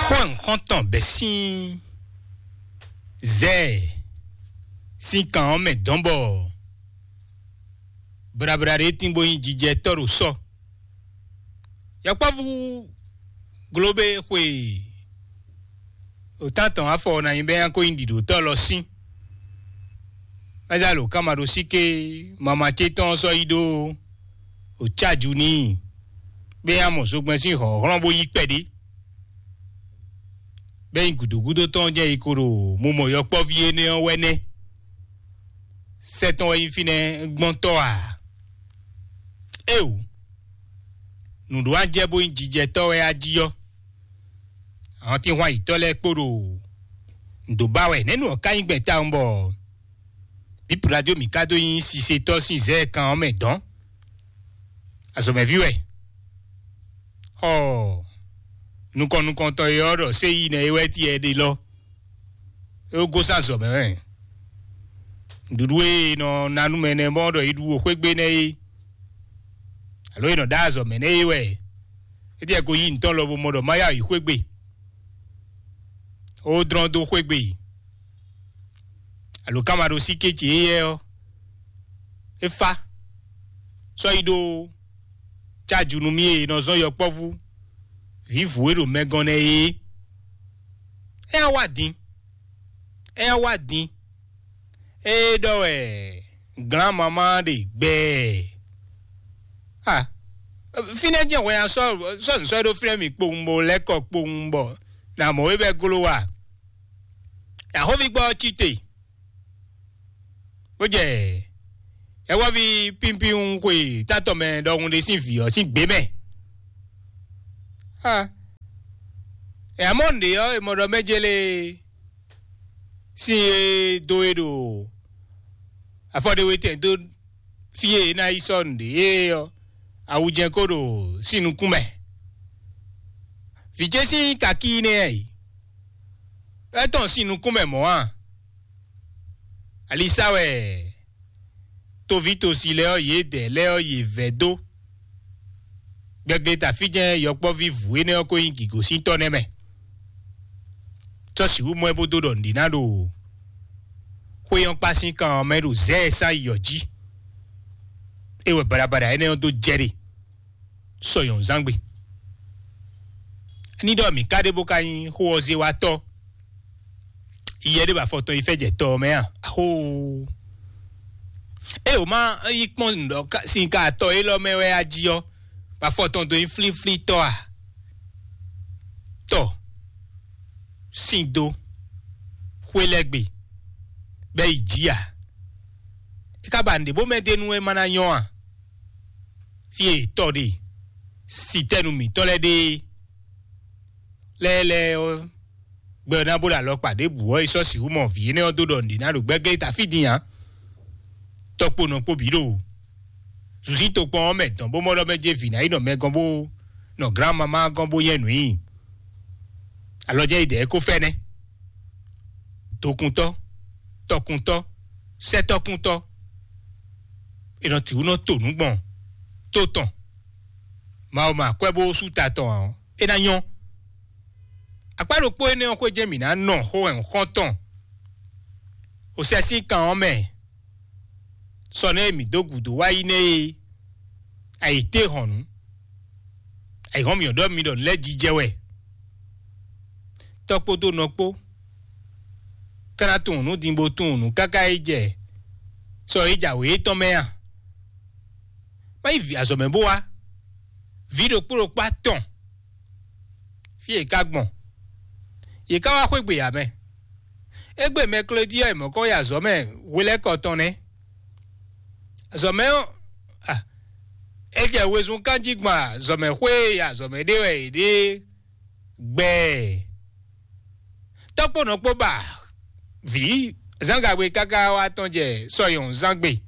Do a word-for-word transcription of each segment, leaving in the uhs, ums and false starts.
Xó e xɔ́ntɔn bɛ́ sín zɛ sín kan ɔ́ mɛ dɔn bɔ blabla ɖé tín bó nyí jijɛ tɔ́ ɖo sɔ. Yɔkpɔ́vú glóbé xwe òtántɔn afɔ ná nyí bɛ́ nyá kó nyí ɖiɖǒtɔ́ lɔ sín. Mɛzalo kama ɖo síké mama ce tɔn sɔ́ yi ɖó òcáju n'i, bɛ́ nyá mɔ zogbɛ́n sín hlɔ̌nhlɔ́n bó yí kpɛɖé. Bɛ́ nyi gǔdo gúdo tɔn jɛ yi ko ɖo mo mɔ yɔkpɔ́ví énɛ́ ɔ́ wɛ nɛ́. Sɛ́ tɔn wɛ nyí fínɛ́ gbɔ́ntɔ́ a? Éeǒ, nǔɖó ajɛ bó nyí jijɛtɔ́ wɛ a jí ɔ́, àwọn tínhwan yǐtɔ́ lɛ́ɛ kpo ɖo nǔ dó ba wɛ. Nɛ̌ nǔ ɔ́ ka nyí gbɛn tawun bɔ bǐ Pilato mǐ ka dó nyí sisetɔ́ sín zɛ̌ kan ɔ́ mɛ dɔ̌n? Azɔ̌mɛví wɛ. Xɔ nukɔn nukɔntɔn e ɔ́ ɖɔ séyi nɛ é wɛ ti ɛ ɖe lɔ. É wó gosín azɔ̌ mɛ wɛ. Nǔɖuɖu e è nɔ ná nú mɛ nɛ́ mɔ ɖɔ yi ɖu xwé gbe nɛ́ é, alo è nɔ ɖá azɔ̌ mɛ nɛ́ é wɛ. É ɖíe ko yí ntɔ́n lɔ bó mɔ ɖɔ má yá yi xwé gbe. Ó dlɔ́n dó xwé gbe. Alo kama ɖo sí kéci éyɛ́ ɔ́, é fá sɔ́ yi ɖó cáju nú mì e nɔ zɔ́n yɔkpɔ́vú vǐvǔ e ɖo mɛgɔn nɛ́ é. É wá din, é wá din. É ɖɔ wɛ glán mamá ɖe gbɛɛ. Ah, fínɛ́ jẹ́ hwɛ ya sɔ́ sɔ́ nǔ sɔ́ ɖó fínɛ́ mì kpowun bó lɛ́ kɔ kpowun bɔ nà mɔ wé bɛ́ gló wa. Yǎxóví gbɔ ɔ́ cí te, bó jɛ ɛwɔ́ví pínpín xwe tátɔ mɛ ɖɔhun ɖé sín vǐ ɔ́ sín gbě mɛ. Ah, ɛ amɔ́ nǔɖé ɔ́, è mɔ ɖɔ mɛ jélé sín e dó e ɖo afɔ ɖé wetɛn dó fí e é ná yi sɔ́ nǔɖé é ɔ́, awu jɛ́n ko ɖo sín nukún mɛ. Vǐ ce sín kakí nɛ́ ɛ yi, é tɔn sín nukún mɛ mɔ̌ a? Alisa wɛ toví tosi lɛ́ɛ ɔ́, yědɛɛ lɛ́ɛ ɔ́, yě vɛ́ dó. Gbɛgbléta fí jɛ́n yɔkpɔ́ví vǔ énɛ́ ɔ́ ko nyí gǐgosíntɔ́ nɛ́ mɛ. Sɔ́ sixú mɔ ɛ bó dó ɖɔ nǔɖé ná ɖo xwé ɔ́ kpá sín kan ɔ́ mɛ ɖo zɛ̌ ɛ sín ayǐ ɔ́ jí. É wɛ baɖabaɖa énɛ́ ɔ́ dó jɛ ɖe sɔ nyɔ̌nuzángbe. Ní ɖɔ mǐ ka ɖe bó ka nyí xó ɔ́ zé wá tɔ́, iyɛ ɖé ba afɔ tɔn yi fɛ jɛ tɔ ɔ́ mɛ a? Axóo! Ée wǒ má yi kpɔ́n nǔ ɖɔ ka- sin ka atɔ élɔ́ mɛ wɛ a jí ɔ́, ba afɔ tɔn dó nyí flíflí tɔ́ a? Tɔ sín dó xwé lɛ́ gbe bɛ́ yi jí a? É ka ba nǔɖé bó mɛ d'é nú é má ná nyɔ́ a? Fí e tɔ ɖe sitɛ́nu mǐtɔn lɛ́ɛ ɖe lɛ́ɛ lɛ́ɛ ɔ́, gbɛ ɔ́ ná bó ɖo alɔkpa ɖěbǔ ɔ́, è sɔ́ sixú mɔ vǐ énɛ́ ɔ́ dó ɖɔ nǔɖé ná ɖo gbɛ́glɛ́ ta fí din ǎ. Tɔkpo nɔ kpo bǐ ɖo zuzí tokpɔn ɔ́ mɛ dɔn bó mɔ ɖɔ mɛ jɛ vǐ ná yi nɔ mɛ gɔ́n bó nɔ glán mamá gɔ́n bó nyɛ nǔ nyi. Alɔ jɛ yi dɛ̌ ko fɛ́nɛ́. Tokuntɔ́, tɔkuntɔ́, sɛ́tɔ́kuntɔ́, è nɔ tǐ wú nɔ to nǔ gbɔn tó tɔn. Mawu ma kwɛ bó sú ta tɔn ǎ, é ná nyɔ́. Akpá ɖokpó énɛ́ ɔ́ xwé jɛ́n mǐ ná nɔ xó wɛ xɔ́ntɔn. Osɛ sín kan ɔ́ mɛ, sɔ nɛ́ e mǐ dó gǔdo wá yi nɛ́ e ayǐtéhɔ̌nnu, ayǐhɔ́n mǐ ɔ́ ɖɔ mi ɖɔ nǔ lɛ́ɛ jijɛ wɛ. Tɔ́ kpódó nɔ kpó, ká ná tunwun nǔ din bó tunwun nǔ káká yi jɛ sɔ e jǎwe étɔn mɛ a? Má yi vǐ azɔ̌ mɛ bó wá. Vǐ ɖokpó ɖokpó atɔn fí e ka gbɔn. Yě ká wá xwé gbe ǎ mɛ. Égbé mɛklódí ɔ́, è mɔ̌ kɔ yi azɔ̌ mɛ hwelɛ́kɔ tɔn nɛ́. Azɔ̌ mɛ ɔ́, a, é jɛ wezun kán jí gbɔn azɔ̌ mɛ xwé e azɔ̌ mɛ ɖe wɛ è ɖe gbɛɛ. Tɔ́kpónɔ kpó ba vǐ zǎngagbe káká wá tɔn jɛ sɔyɔn zán gbe.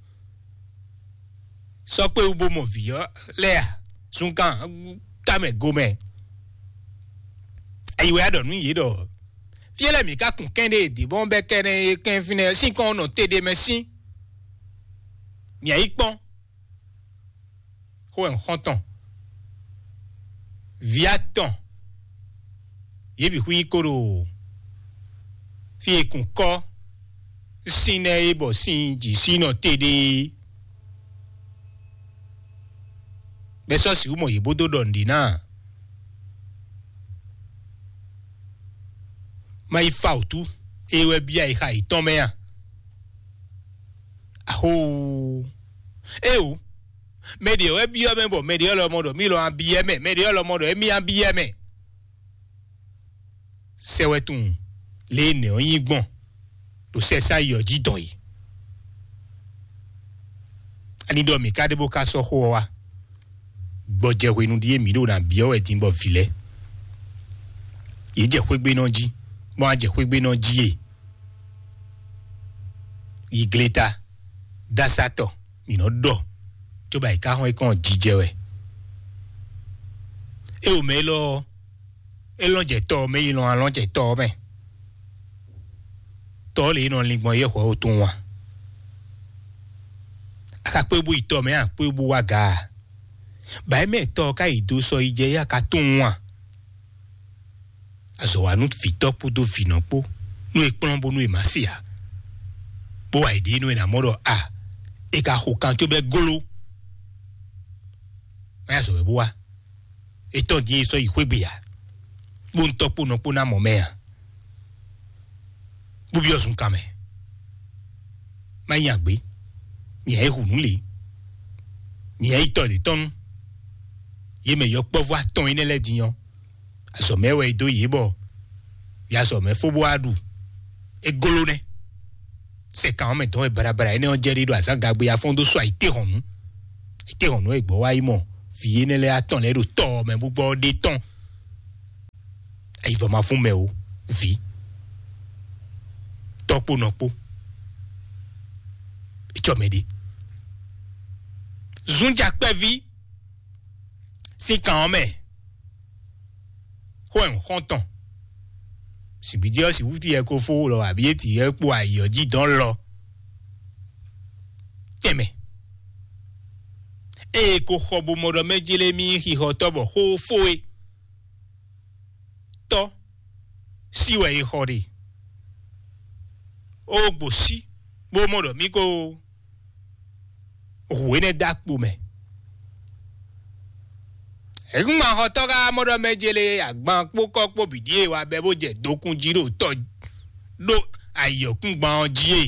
Sɔ́ kpé wú bó mɔ vǐ ɔ́ lɛ́ɛ a? Zunkan tamɛ gomɛ. Ayi wɛ a ɖɔ nú yě ɖɔ fí e lɛ́ mǐ ka kun kɛ́n ɖe dǐ bɔn bɛ́ kɛ́nɛ e kɛn fínɛ́ sín kɔn nɔ te ɖe mɛ sín. Mǐ yi kpɔ́n xó wɛ xɔ́ntɔn vǐ atɔn Yě bǐ xwí kó ɖo fí e kún kɔ́ sín nɛ́ é bɔ sín jǐ sí nɔ te ɖe é. Bɛ́ sɔ́ sixú mɔ yě bó dó ɖɔ nǔɖé ná a? Má yi fa wǔtu, é wɛ bíá yi xa yětɔn mɛ a? Axóo! Éeǒ! Mɛ ɖě wɛ byɔ́ mɛ bɔ mɛ ɖě lɔmɔ ɖɔ mí lɔ a byɔ́ mɛ, mɛ ɖě lɔmɔ ɖɔ émí a byɔ́ mɛ. Sɛ wɛ tunwun lě e nɛ̌ ɔ́ nyí gbɔn ɖo sɛsá yi ɔ́ jí dɔn yi. Ani ɖɔ mǐ ka ɖe bó ka sɔ́ xó ɔ́ wá? Gbɔjɛhwenu ɖíe mǐ ɖo ná byɔ́ wɛ din bɔ vǐ lɛ́ɛ yě jɛ xwégbénɔ jí, bɔ a jɛ xwégbénɔ jí e yi gleta dasatɔ mǐ nɔ ɖɔ, cóbɔ ayǐká xɔ́n é kɔn jijɛ wɛ. É o mɛ élɔ́ ɔ́, é lɔ́n jɛ tɔ ɔ́ mɛ yi lɔn alɔ́n jɛ tɔ ɔ́ mɛ. Tɔ ɔ́ lě e nɔ lin gbɔn yɛ́ hwɛ̌ ó tunwun a? A ka kpé bú yi tɔ mɛ a kpé bú wá ga a? Bǎ é mɛ tɔ ɔ́ ka yi dó sɔ yi jɛ yá ka tunwun a? Azɔ̌ wa nú vǐtɔ́ kpódó vǐnɔ kpó, nú è kplɔ́n bónú è má se ǎ, bó wa yě ɖe nú è nǎ mɔ ɖɔ a, è ka xo kan cóbɛ́ gló. Má yá zɔ̌ wɛ bó wá. È tɔ́n din è sɔ́ yi xwé gbe ǎ, bó ń tɔ́ kpó nɔ kpó ná mɔ mɛ ǎ. Bó byɔ́ zunkan mɛ. Má nyi agbě, nyɛ e hu nǔ lě, nyɛ e yi tɔ́ lě tɔn nú yě mɛ yɔkpɔ́vú atɔn énɛ́ lɛ́ɛ din ɔ́, azɔ̌ mɛ wɛ è dó yě bɔ yě azɔ̌ mɛ fó bó wá ɖu. É gló nɛ́. Sɛkan ɔ́ mɛ dɔn wɛ baɖabaɖa énɛ́ ɔ́ jɛ ɖe ɖo azǎn gagbe afɔ́n dó sɔ́ ayǐtéhɔ̌nnu. Ayǐtéhɔ̌nnu e gbɔ̌ wá yi mɔ vǐ énɛ́ lɛ́ɛ atɔn lɛ́ɛ ɖo tɔ́ ɔ́ mɛ bó gbɔ ɔ́ ɖe tɔn. Ayivɔ ma fún mɛ o, vǐ, tɔ́ kpó nɔ kpó. Etsɔ mɛ ɖe. Zunja kpɛví sín kan ɔ́ mɛ, xó ɛ xɔ́ntɔn. Sibidi ɔ́ sixú ti yɛ ko fó lɔ abǐ é ti yɛ kpo ayǐ ɔ́ jí dɔn lɔ. Tɛnmɛ. Ée ko xɔ bo mɔ ɖɔ mɛ Jelemíi xixɔ tɔ́ bɔ xó fó é. Tɔ́ sí wɛ è xɔ ɖe. Ó gbo sí bó mɔ ɖɔ mí ko hu énɛ́ dó akpo mɛ. Hɛ̌kúngbanxɔtɔ́ ka mɔ ɖɔ mɛ jele agban kpó kɔ́ kpó bǐ ɖíe wa bɛ́ bó jɛ dokún jí ɖo tɔ́ ɖó ayǐyɔ́kúngban ɔ́ jí e.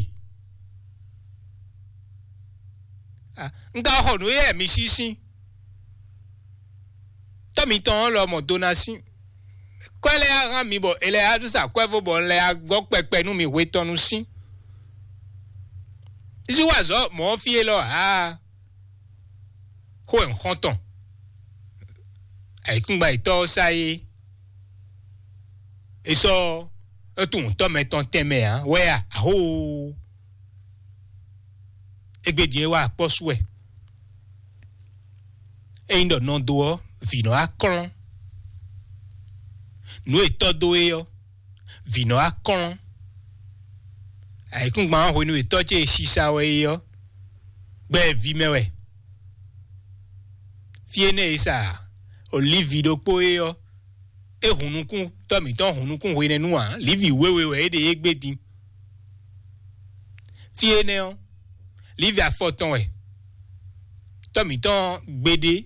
Un ka xɔ nǔ éyɛ́ mi sísín. Tɔ́ mitɔn ɔ́ lɔ mɔ do ná sín. Kwɛ́ lɛ́ɛ á hán mi bɔ è lɛ́ á sa kwɛ́ fó bɔ un lɛ́ á gɔ́ kpɛkpɛ nú mi hwe tɔn nú sín. Zí wa azɔ̌ mɔ̌ fí élɔ́ ǎ. Xó e un xɔ́n tɔn. Ayǐkúngban yětɔ́ ɔ́ sá é. È sɔ́ é tunwun tɔ́ mɛ tɔn tɛnmɛ ǎ wɛ a? Ahóoo! Égbé din é wá akpɔ́ sú wɛ. Ényí ɖɔ nɔ dó ɔ́, vǐ nɔ wá klɔ́n. Nǔ e tɔ́ dó é ɔ́, vǐ nɔ wá klɔ́n. Ayǐkúngban ɔ́ hwenu e tɔ́ ce e sisa wɛ é ɔ́, gbɛ e ví mɛ wɛ. Fí énɛ́ e sa olívi ɖokpó é ɔ́, é hun nukún tɔ́ mǐtɔn hun nukún hwenɛ́nu ǎ, lǐvi wěwe wɛ é ɖe é gbé din. Fí énɛ́ ɔ́, lǐvi afɔ tɔn wɛ tɔ́ mǐtɔn gbeɖé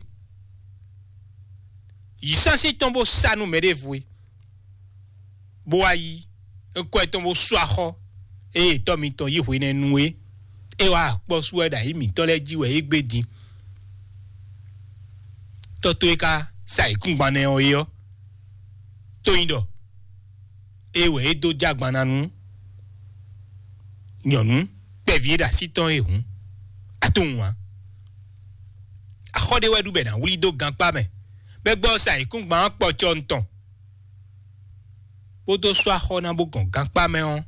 yi sánsí tɔn bó sá nú mɛɖěvo é, bó wá yí é kɔ tɔn bó sú axɔ́ ée tɔ́ mitɔn yí hwenɛ́nu é. É wá akpɔ́ sú wɛ ɖo ayǐ mǐtɔn lɛ́ɛ jí wɛ é gbé din. Tɔ́ tó é ka sa ayǐkúngban nɛ́ ɔ́ é ɔ́, tó nyí ɖɔ é wɛ é dó jɛ agban ná nú nyɔ̌nu kpɛví e ɖo así tɔn é hǔn, a tunwun ǎ. Axɔ́ ɖé wɛ ɖu bɔ è nǎ wlí dó gankpá mɛ, bɔ é gbɔ sa nyǐkúngban ɔ́ kpɔcɔ tɔn, bó dó sú axɔ́ ná bó gɔn gankpá mɛ ɔ́,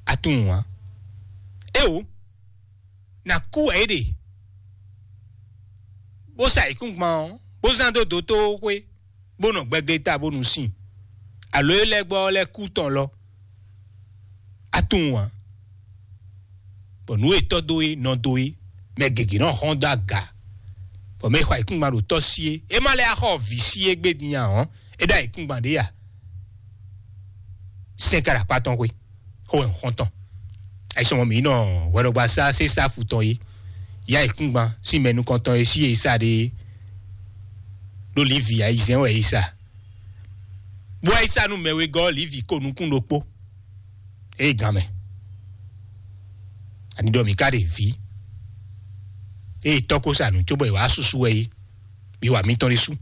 a tunwun ǎ. Éeǒ, nǎ kú wɛ é ɖe, bó sa nyǐkúngban ɔ́, bó zán dó dotó xwé, bó nɔ gbɛgleta bónú sin, alo é lɛ́ gbɔ ɔ́ lɛ́ kú tɔn lɔ. A tunwun ǎ, bɔ nǔ e tɔ́ dó é, nɔ dó é, mɛ gěgé nɔ hɔn dó aga, bɔ mɛ e xɔ ayǐkúngban ɖo tɔ́ sí é, é má lɛ́ axɔ vǐ sí é gbé din ǎ ɔ́, é ɖó ayǐkúngban ɖé a? sɛ́n ká ɖo akpá tɔn xwé, xó wɛ xɔ́ntɔn. Ayisɔmɔ mǐ nɔ hwɛɖɔgbasá sésá fu tɔn é, yá ìkúngban sín mɛ nukɔntɔn é sí e sá ɖe ɖó Livi ayizɛ́n wɛ é sa. Bó wá yi sa nú mɛ wegɔ́ Livi ko nukún ɖokpó. Ée gán mɛ, ani ɖɔ mǐ ka ɖe vǐ, ée tɔ́ ko sa nǔ cóbɔ è wǎ susu wɛ é, mi wa mitɔn ɖésú.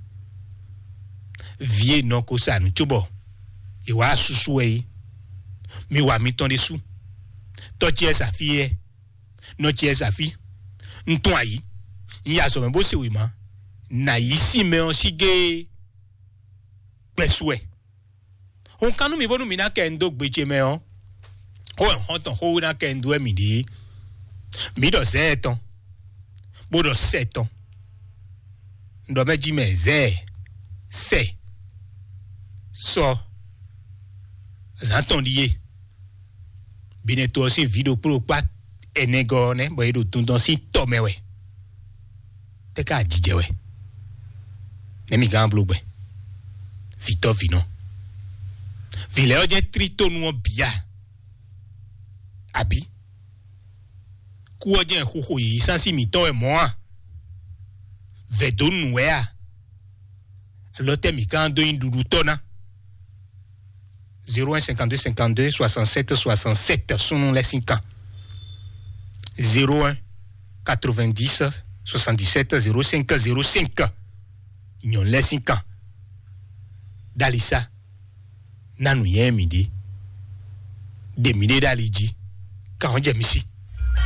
Vǐ e nɔ ko sa nǔ cóbɔ è wǎ susu wɛ é, mi wa mitɔn ɖésú. Tɔ́ ce sa fí yɛ, nɔ ce sa fí. Un tún ayǐ, un yi azɔ̌ mɛ bó se wěma, nǎ yí sín mɛ ɔ́ sí géé gbɛ́sú wɛ. Hun kan nú mi bónú mi ná kɛ un dó gbe ce mɛ ɔ́, xó wɛ xɔ́ntɔn xówéná kɛ un dó wɛ mi ɖe. Mi ɖɔ zɛɛ tɔn, bó ɖɔ sɛ tɔn. Un ɖɔ mɛ jí mɛ zɛɛ, sɛ, sɔ, zǎn tɔn ɖíe. Binɛ to ɔ́ sín vǐ ɖokpó ɖokpá ɛnɛgɔ́ ɔ́ nɛ́, bɔ é ɖo dundɔn sín tɔ mɛ wɛ. Tɛ́ ká jijɛ wɛ? Nɛ́ mi gán bló gbɛ? Vǐtɔ́ vǐnɔ. Vǐ lɛ́ɛ ɔ́ jẹ́ trítónu ɔ́ bǐ a? Abǐ kú ɔ́ jẹ́ xuxo yǐyí sánsí mǐtɔn wɛ mɔ̌ a? Vɛ̌ dó nǔ wɛ a? Alɔ tɛ́ mǐ gán dó nyí ɖuɖutɔ́ ná? Zéro un cinquante-deux cinquante-deux soixante-sept soixante-sept, súnnu lɛ́ɛ sín kan. Zéro un quatre-vingt-dix soixante-dix-sept zéro cinq zéro cinq. Nyɔ̌nu lɛ́ɛ sín kan. Ɖalisa, ná nǔnywɛ́ mì ɖé. Ɖe mì ɖé ɖo ali jí. Kan ɔ́ jɛ mi sí.